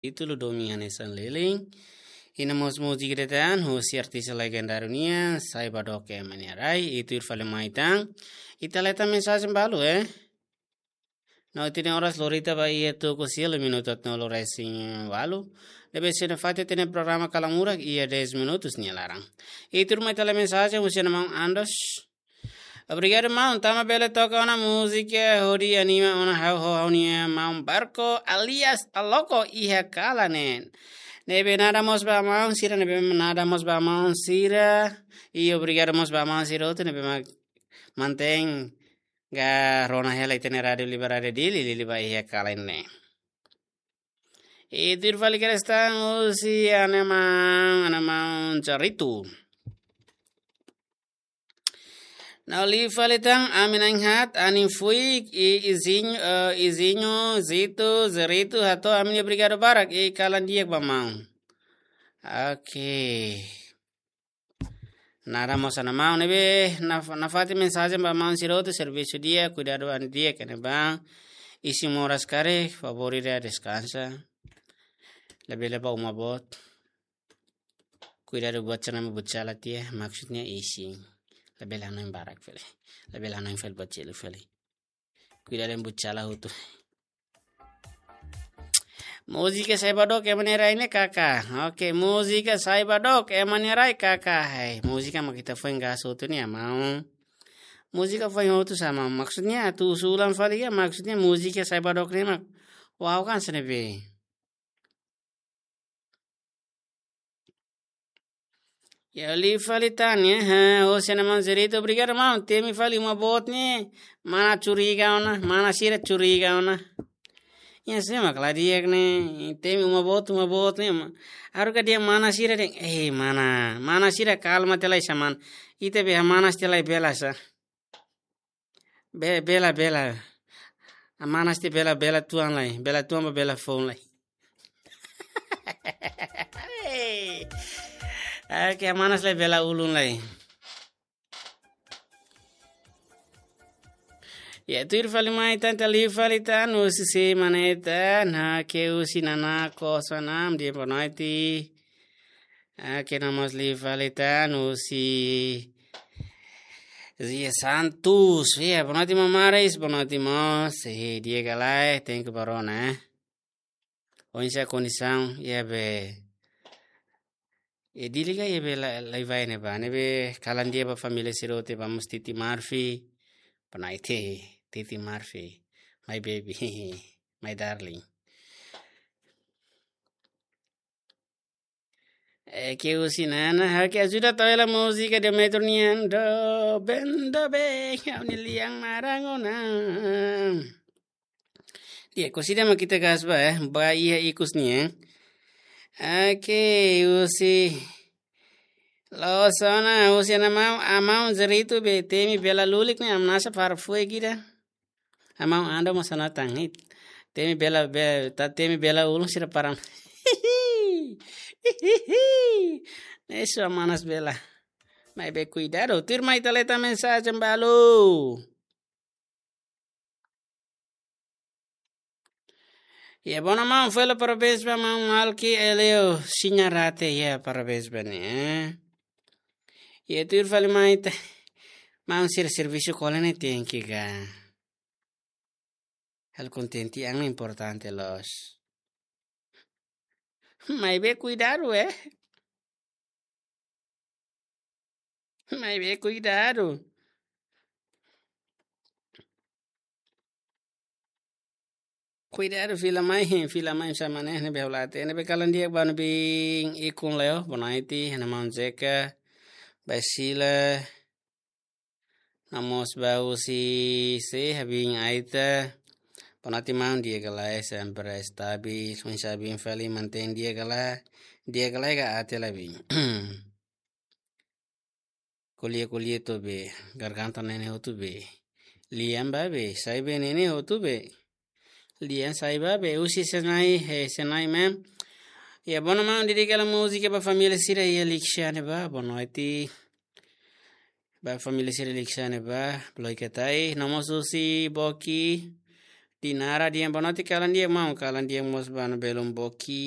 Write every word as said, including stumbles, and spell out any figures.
Títulu Domin Hanesan Leleng. I no mós múzika ida tan, husi artista legendáriu nian, Sai Ba Dook Ema Nia Rai, i tuir fali mai tan. Ita hetan mensajen balu, eh? No ita-nia oras lori tiha ba iha tuku sia, minutu haatnulu resin ualu. Ne'ebé sei nafatin ita-nia programa Kalan Murak iha dez minutus nia laran. I tuirmai ita lee mensajen husi maun Andos. Obrigadu maun, tanba bele toka ona múzika hodi anima ona ha'u ho ha'u-nia maun Barco alias Aloko iha kalan ne'e. Ne'ebé nada mós ba maun sira, ne'ebé nada mós ba maun sira. I obrigadu mós ba maun sira hotu ne'ebé mak mantein ka rona hela ita-nia Rádiu Liberdade Dili, Dili ba iha kalan ne'e. I tuir fali kedas tan husi ha'u-nia maun, ha'u-nia maun Jaritu. No liu fali tan, ami na'in-haat, anin fuik, i izinho, eh, izinho, Zito, Zerito, hato'o ami-nia obrigadu barak, i kalan di'ak ba maun. Oke. Nada mós ha'u-nia maun, ne'ebé naf-, nafatin mensajen ba maun sira hotu, servisu di'ak, kuidadu an di'ak, ne'ebá isin moras karik, favór ida deskansa. Labele bá uma boot. Kuidadu buat sira-ne'e buat sala tiha, maksudnya isin. Labele hanoin barak fali. Labele hanoin fali buat seluk fali. Kuidadu buat sala hotu. Múzika Sai Ba Dook Ema Nia Rai ne'e kaka. Oke, múzika Sai Ba Dook Ema Nia Rai kaka. Hei, múzika mak ita foin gas hotu ne'e maun. Múzika foin hotu sá maun. Maksudnya, atu usulan fali ka, maksudnya múzika Sai Ba Dook ne'e mak. Wow kan sene be. Ya, liu fali tan, ya. Ha, husi ha'u-nia maun Zerito, obrigadu maun. Temi fali uma boot ne'e, mana curiga ona, mana sira curiga ona. Ya, sé mak la di'ak ne'e, temi uma boot, uma boot ne'e, ma-, haruka dehan mana sira dehan, eh, mana, mana sira kalma tiha lai sá maun. Ita be hamanas tiha lai bela sá. Be-, bela, bela. Hamanas tiha bela, bela tuan lai. Bela tuan ba bela foun lai. Oke, hamanas lai bela ulun lai. Ya, tuir fali mai tan, ita liu fali tan, husi sé mak ne'e tan, ha, ke husi Nana Kosanam, dehan boa noite. Ah, ke no mós liu fali tan, husi Zia Santos. Ya, boa noite, maun Maris, boa noite, mós. Eh, di'ak ka lae, thank you ba rona, eh. Oinsá kondisaun, ya be. Eh, Dili ka, ya be la, la vai ne'ebá, ne'ebé kalan di'ak ba família sira hotu, ba mós Titi Marfi. Boa noite, Titi Marfi. My baby, my darling. Eh, ke husi Nana, ha'u ke ajuda tau hela múzika Demetrio nian, doben, doben, ha'u-nia lian maran ona. Di'ak, husi ida mak ita gas ba, eh, ba iha ikus nian. Oke, husi. Loos ona, husi ha'u-nia maun, ha'u-nia maun Zerito be temi bela lulik ne'e, hamanas sá para fue gida. Ha'u-nia maun Ando mós hanoin tan, hei. Temi bela, be-, ta temi bela ulun sira para. Ne'e só hamanas bela. Maibé kuidadu, tuirmai ita lee tan mensajen balu. Ya, boa noite, maun, fali parabéns ba maun Malki Eleu Siñarate, ya, parabéns ba nia, eh. Ya, tuir fali mai ita. Maun sira servisu kolen ne'e tenke ka. Halo kontente an importante loos. Maibé kuidadu, eh. Maibé kuidadu. Kuidadu fila mai, fila mai sá mak ne'e, ne'ebé hola te, ne'ebé kalan di'ak ba ne'ebé ikun leo, boa noite, ha'u-nia maun Zeka, Basila, no mós ba husi sé, Habin Aita, boa noite maun, di'ak ka lae, sempre stabil, oinsá Habin fali, mantein di'ak ka lae, di'ak ka lae ka até la Habin. Ko'alia, ko'alia to'o be, garganta ne'e ne'e hotu be. Lian ba be, sai be ne'e ne'e hotu be. Lian sai ba be, husi Senai, eh, Senai mem. Ya, boa noite maun, dedika hela múzika ba família sira iha Lixiane ba, boa noite. Ba família sira Lixiane ba, Bloiketai, no mós husi Boki. Dinara, di'ak, boa noite, kalan di'ak maun, kalan di'ak mós ba no belun Boki.